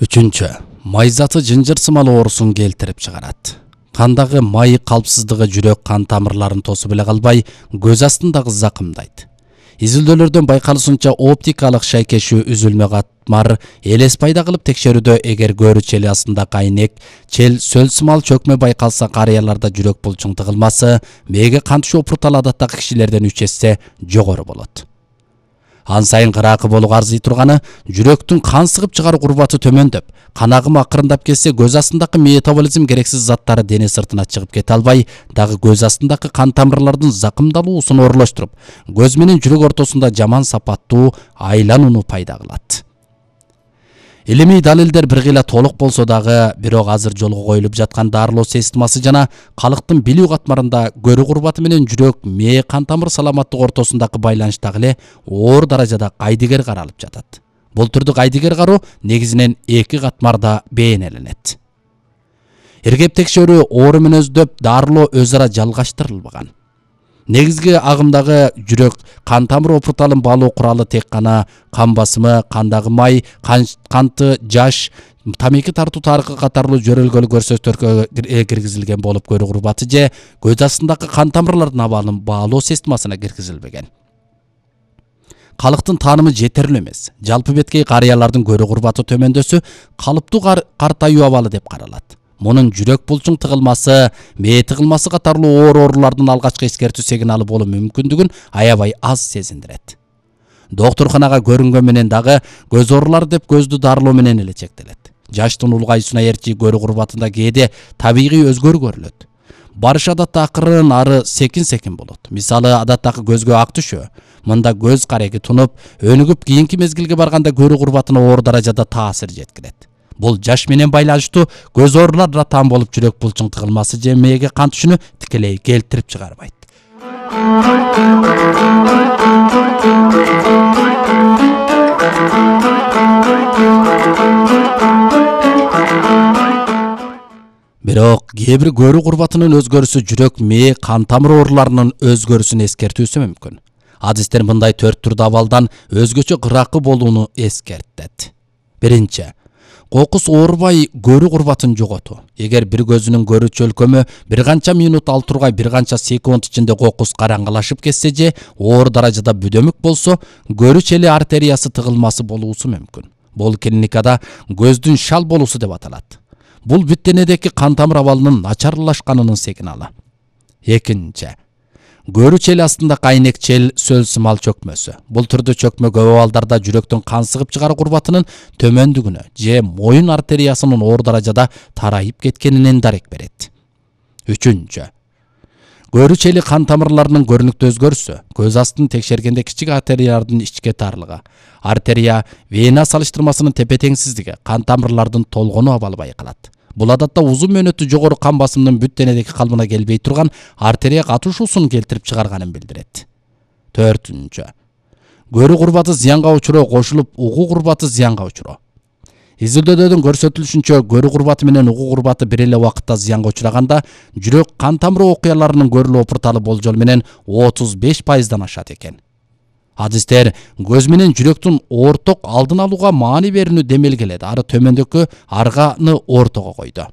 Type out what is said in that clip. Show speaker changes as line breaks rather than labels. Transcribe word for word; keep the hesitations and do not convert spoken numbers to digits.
Үчүнчү, май заты жынжыр сымал оорусун келтирип чыгарат. Кандагы май калпсыздыгы жүрөк кан тамырларын тосуп эле калбай, көз астындагы закымдайт. Изилдөөлөрдөн байкалышынча оптикалык шайкешүү үзүлмө катмар элес пайда кылып текшерүүдө эгер көөрү чели астында кайнек, чел, сөл сымал чөкмө байкалса карыяларда жүрөк булчуң тыгылмасы мээге кан түшүү опурталы адаттагы кишилерден үч эсе жогору болот. Ан сайын кыраакы болууга арзый турганы жүрөктүн кан сыгып чыгаруу курбаты төмөндөп, кан агымы акырындап кетсе көз астындагы метаболизм керексиз заттары дене сыртына чыгып кете албай, дагы көз астындагы кан тамырлардын закымдалуусун оролоштуруп, көз менен жүрөк ортосунда жаман сапаттуу айланууну пайда кылат. Илимий далилдер бир кыйла толук болсо дагы, бирок азыр жолго коюлуп жаткан дарылоо системасы жана калктын билүү катмарында көрүү курбаты менен жүрөк, мээ, кан тамыр саламаттыгы ортосундагы байланыш дагы эле оор даражада кайдыгер каралып жатат. Бул түрдүү кайдыгер кароо негизинен эки катмарда бейнеленет. Иргеп текшерүү оору мүнөздөп, дарылоо өз ара жалгаштырылбаган. Негизги агымдагы жүрөк кан тамыр опурталын баалоо куралы тек гана кан басымы, кандагы май, канты, жаш, тамеки тартуу тарыхы катарлуу жөрөлгөлүү көрсөтүүлөргө киргизилген болуп, көрүү курбаты же көз астындагы кан тамырлардын абалын баалоо системасына киргизилбеген. Калктын таанымы жетерлүү эмес. Жалпы беткей карыялардын көрүү курбаты төмөндөсү калыптуу картаюу абалы деп каралат. Мунун жүрөк булчуң тыгылмасы, мээ тыгылмасы катарлуу оор оорулардын алгачкы эскертүү сигналы болуу мүмкүндүгүн аябай аз сезиндирет. Доктурканага көрүнгөн менен дагы көз оорулары деп көздү дарылоо менен эле чектелет. Жаштын улгайуусуна ээрчи көрүү курбатында кээде табигый өзгөрүү көрүлөт. Барыш адатта акырын, ары секин-секин болот. Мисалы, адаттагы көзгө ак түшөө. Мында көз кареги тунуп, өнүгүп, кийинки мезгилге барганда көрүү курбатына оор даражада таасир жеткирет. Бул жаш менен байланыштуу көз ооруларына таан болуп, жүрөк булчуң тыгылмасы же мээге кан түшүүнү тикелей келтирип чыгарбайт. Бирок кээ бир көрүү курбатынын өзгөрүсү жүрөк, мээ, кан тамыр ооруларынын өзгөрүсүн эскертүүсү мүмкүн. Адистер мындай төрт түрдүү абалдан өзгөчө кыраакы болууну эскертет. Биринчи, кокус оорубай көрүү курбатын жоготуу. Эгер бир көзүнүн көрүү чөлкөмү бир канча минут ал тургай бир канча секунд ичинде кокус караңгылашып кетсе же оор даражада бүдөмүк болсо, көрүү чели артериясы тыгылмасы болуусу мүмкүн. Бул клиникада көздүн шал болуусу деп аталат. Бул бүт денедеги кан тамыр абалынын начарлашканынын сигналы. Экинчи, көрүү чели астында кайнек, чел, сөл сымал чөкмөсү. Бул түрдүү чөкмө көп абалдарда жүрөктүн кан сыгып чыгаруу курбатынын төмөндүгүнө же моюн артериясынын оор даражада тарайып кеткенинен дарек берет. Үчүнчү, көрүү чели кан тамырларынын көрүнүктүү өзгөрүсү. Көз астын текшергенде кичик артериялардын ичке тарлыгы, артерия вена салыштырмасынын тепе-теңсиздиги, кан тамырлардын толгонуу абалы байкалат. Бул адатта узун мөөнөттүү жогору кан басымынын бүт денедеги калыбына келбей турган артерия катышуусун келтирип чыгарганын билдирет. Төртүнчү, көрүү курбаты зыянга учуроо кошулуп, угуу курбаты зыянга учуроо. Изилдөөлөрдөн көрсөтүлүшүнчө, көрүү курбаты менен угуу курбаты бир эле убакытта зыянга учураганда, жүрөк кан тамыры окуяларынын көрүлүү опурталы болжол менен отуз беш пайыздан ашат экен. Адистер көз менен жүрөктүн орток алдын алууга маани берүүнү демелгеледи, ары төмөндөгү арганы ортого койду.